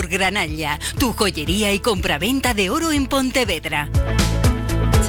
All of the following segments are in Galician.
Granalla, tu joyería e compraventa de oro en Pontevedra.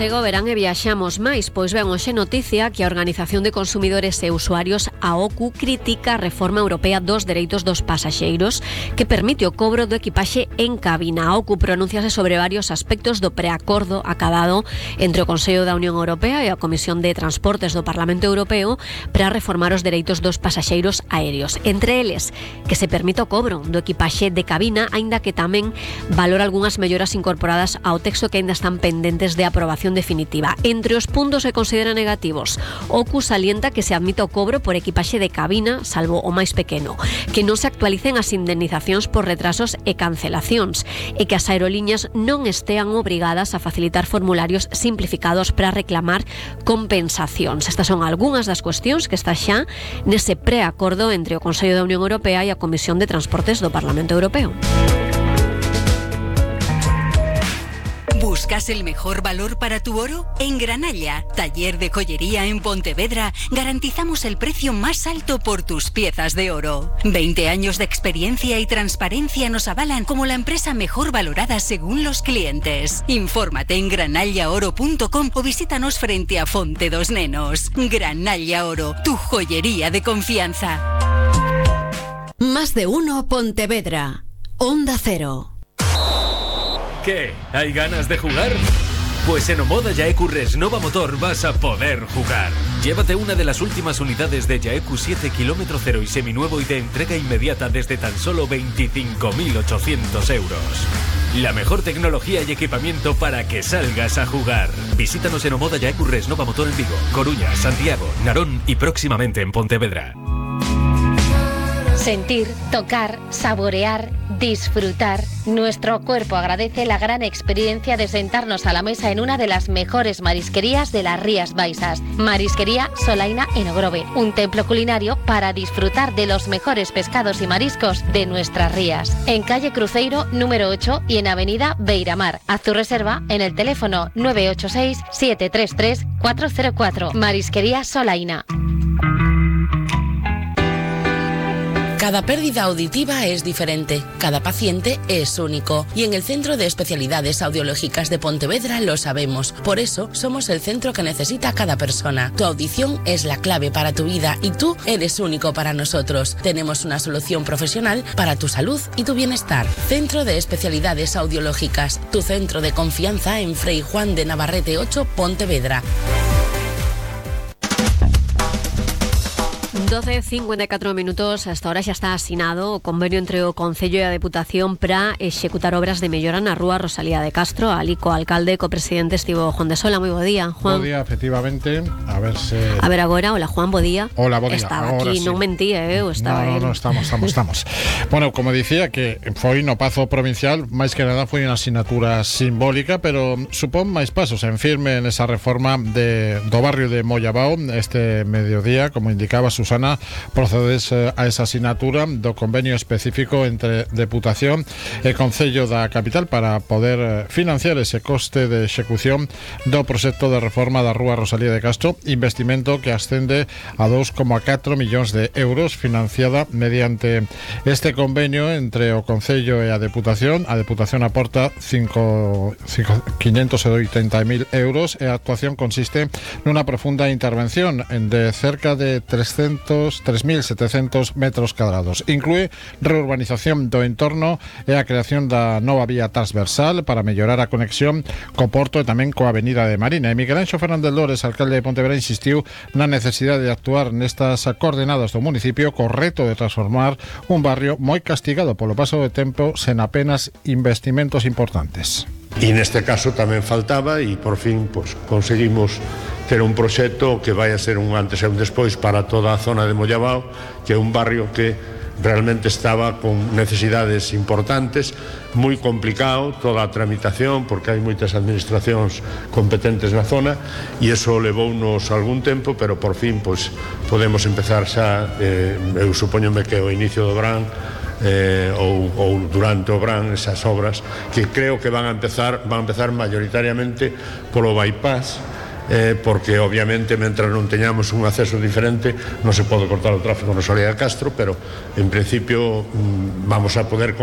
Chega o verán e viaxamos máis, pois ben hoxe noticia que a Organización de Consumidores e Usuarios, a OCU, critica a reforma europea dos dereitos dos pasaxeiros que permite o cobro do equipaxe en cabina. A OCU pronúnciase sobre varios aspectos do preacordo acabado entre o Consello da Unión Europea e a Comisión de Transportes do Parlamento Europeo para reformar os dereitos dos pasaxeiros aéreos. Entre eles, que se permite o cobro do equipaxe de cabina, aínda que tamén valora algunhas melloras incorporadas ao texto que aínda están pendentes de aprobación definitiva. Entre os puntos que considera negativos, OCU salienta que se admite o cobro por equipaxe de cabina, salvo o máis pequeno, que non se actualicen as indemnizacións por retrasos e cancelacións e que as aerolíneas non estean obrigadas a facilitar formularios simplificados para reclamar compensacións. Estas son algunhas das cuestións que está xa nese preacordo entre o Consello da Unión Europea e a Comisión de Transportes do Parlamento Europeo. ¿Buscas el mejor valor para tu oro? En Granalla, taller de joyería en Pontevedra, garantizamos el precio más alto por tus piezas de oro. 20 años de experiencia y transparencia nos avalan como la empresa mejor valorada según los clientes. Infórmate en granallaoro.com o visítanos frente a Fonte dos Nenos. Granalla Oro, tu joyería de confianza. Más de uno Pontevedra. Onda Cero. ¿Qué? ¿Hay ganas de jugar? Pues en Omoda Yaeku Resnova Motor vas a poder jugar. Llévate una de las últimas unidades de Yaeku 7 km 0 y seminuevo y de entrega inmediata desde tan solo 25.800 euros. La mejor tecnología y equipamiento para que salgas a jugar. Visítanos en Omoda Yaeku Resnova Motor en Vigo, Coruña, Santiago, Narón y próximamente en Pontevedra. Sentir, tocar, saborear, disfrutar. Nuestro cuerpo agradece la gran experiencia de sentarnos a la mesa en una de las mejores marisquerías de las Rías Baixas. Marisquería Solaina en Ogrove, un templo culinario para disfrutar de los mejores pescados y mariscos de nuestras rías. En calle Cruzeiro, número 8 y en avenida Beiramar. Haz tu reserva en el teléfono 986-733-404. Marisquería Solaina. Cada pérdida auditiva es diferente, cada paciente es único y en el Centro de Especialidades Audiológicas de Pontevedra lo sabemos. Por eso somos el centro que necesita cada persona. Tu audición es la clave para tu vida y tú eres único para nosotros. Tenemos una solución profesional para tu salud y tu bienestar. Centro de Especialidades Audiológicas, tu centro de confianza en Frei Juan de Navarrete 8, Pontevedra. 12:54 minutos, hasta ahora xa está asinado o convenio entre o Concello e a Deputación para executar obras de mellora na rúa Rosalía de Castro. Ali co alcalde, co presidente estivo Juan de Sola. Moi bo día, Juan. Bo día, efectivamente. A ver agora, hola Juan, bo día. Hola, bo día. Estaba agora aquí, sí. Non mentía, estaba No, estamos. Bueno, como dicía, que foi no Pazo Provincial, máis que nada foi unha asignatura simbólica, pero supón máis pasos en firme nesa reforma do barrio de Mollabao. Este mediodía, como indicaba Susana, procedes a esa asignatura do convenio específico entre Deputación e Concello da capital para poder financiar ese coste de execución do proxecto de reforma da rúa Rosalía de Castro, investimento que ascende a 2,4 millóns de euros, financiada mediante este convenio entre o Concello e a Deputación. A Deputación aporta 580.000 euros e a actuación consiste nunha profunda intervención de cerca de 3.700 metros cuadrados. Inclúe reurbanización do entorno e a creación da nova vía transversal para mellorar a conexión co Porto e tamén coa Avenida de Marina. E Miguel Anxo Fernández Lores, alcalde de Pontevedra, insistiu na necesidade de actuar nestas coordenadas do municipio co reto de transformar un barrio moi castigado polo paso do tempo sen apenas investimentos importantes. E neste caso tamén faltaba e por fin conseguimos ter un proxecto que vai a ser un antes e un despois para toda a zona de Mollabao, que é un barrio que realmente estaba con necesidades importantes, moi complicado toda a tramitación porque hai moitas administracións competentes na zona e iso levounos algún tempo, pero por fin podemos empezar xa, eu supoñome que o inicio do verán ou durante o verán esas obras que creo que van a empezar mayoritariamente polo bypass, porque obviamente mentras non teñamos un acceso diferente non se pode cortar o tráfico no Rosalía de Castro, pero en principio vamos a poder